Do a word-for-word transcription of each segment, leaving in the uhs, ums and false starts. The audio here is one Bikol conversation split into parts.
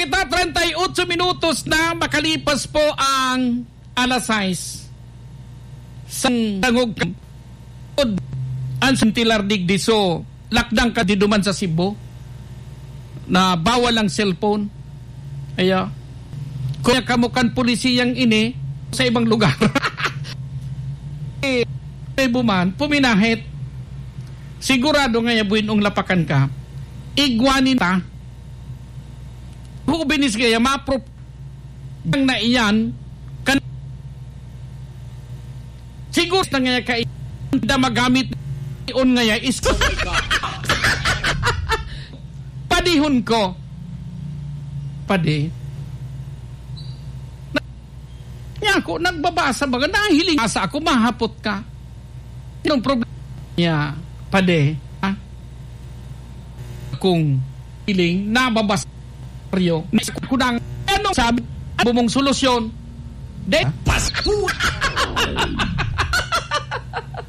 Kita, treinta y ocho minutos na makalipas po ang alas sais. Sa tangog ang sentilar digdi. So, lakdang ka di duman sa Cebu na bawal ang cellphone. Aya. Kaya kamo kan pulisiyang ini sa ibang lugar. Eh, may buman, puminahit. Sigurado nga ya buin ong lapakan ka. Igwanin ta. Hubinis kaya mapro-, ang na iyan, kan-, siguro na nga kay da magamit on nga ya is padihon ko. Padi. Niya ako, nagbabasa baga, nahiling sa ako, mahapot ka. Anong problema niya, padi? Ha? Kung hiling, nababasa ko nang, ano sabi, bumong solusyon? De, Pasko!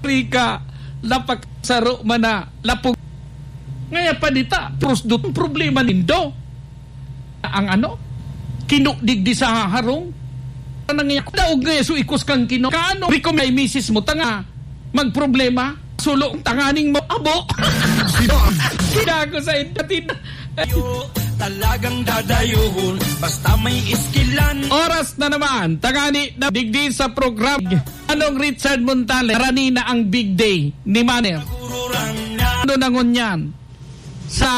Rika, lapak saro man na, lapog. Ngaya pa dita, prosdot ang problema nindo. Ang ano? Kino digdi sa harong? Anong iya? Daog nga so ikos kang kino. Kaano? Recommend kay misis mo, tanga. Magproblema. Sulo ang tanganing mo. Abo. Kinago sa indatin. Talagang dadayuhon. Basta may iskilan. Oras na naman. Tangani na digdi sa program. Anong Richard Montale? Arani na ang big day ni Maner. Ano na ngunyan? Sa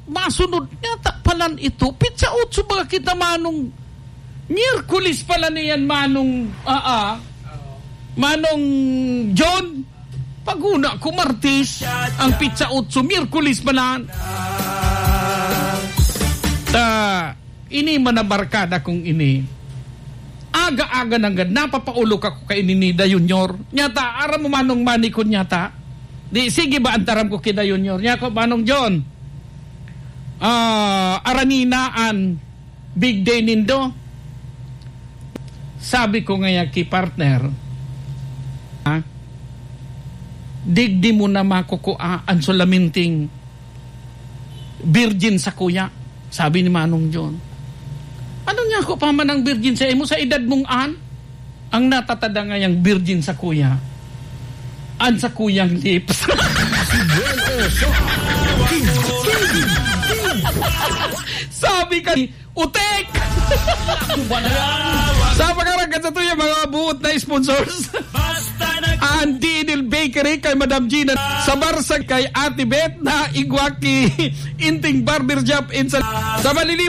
masunod yata palan ito, pitsa otso ba kita, Manong? Miyerkules pala niyan, Manong, ah, ah. Manong John, pag-una ko, Martes, ang pitsa otso, Miyerkules pala. Ta, ini man na barkada kong ini. Aga-aga nanggad, napapaulok ako kay ini ni Da Junior. Nyata, aram mo, Manong Manikon, nyata. Di, sige ba, antaram ko kita, Junior? Niya ko, Manong John, ah, aranina an big day nindo. Sabi ko ngaya ki partner, ha? Digdi mo na makukua an sulaminting virgin sa kuya, sabi ni Manong John. Ano niya ako pa man ang virgin sa imo sa edad mong an? Ang natatada ngayang virgin sa kuya, an sa kuyang lips. Sabi ka, utek! Sa mga ragad sa tuya, mga buot na sponsors. Ang D N L Bakery kay Madam Gina, sa Barsa kay Ate Beth na igwa ki Inting Barber Shop in sa, sa Malili-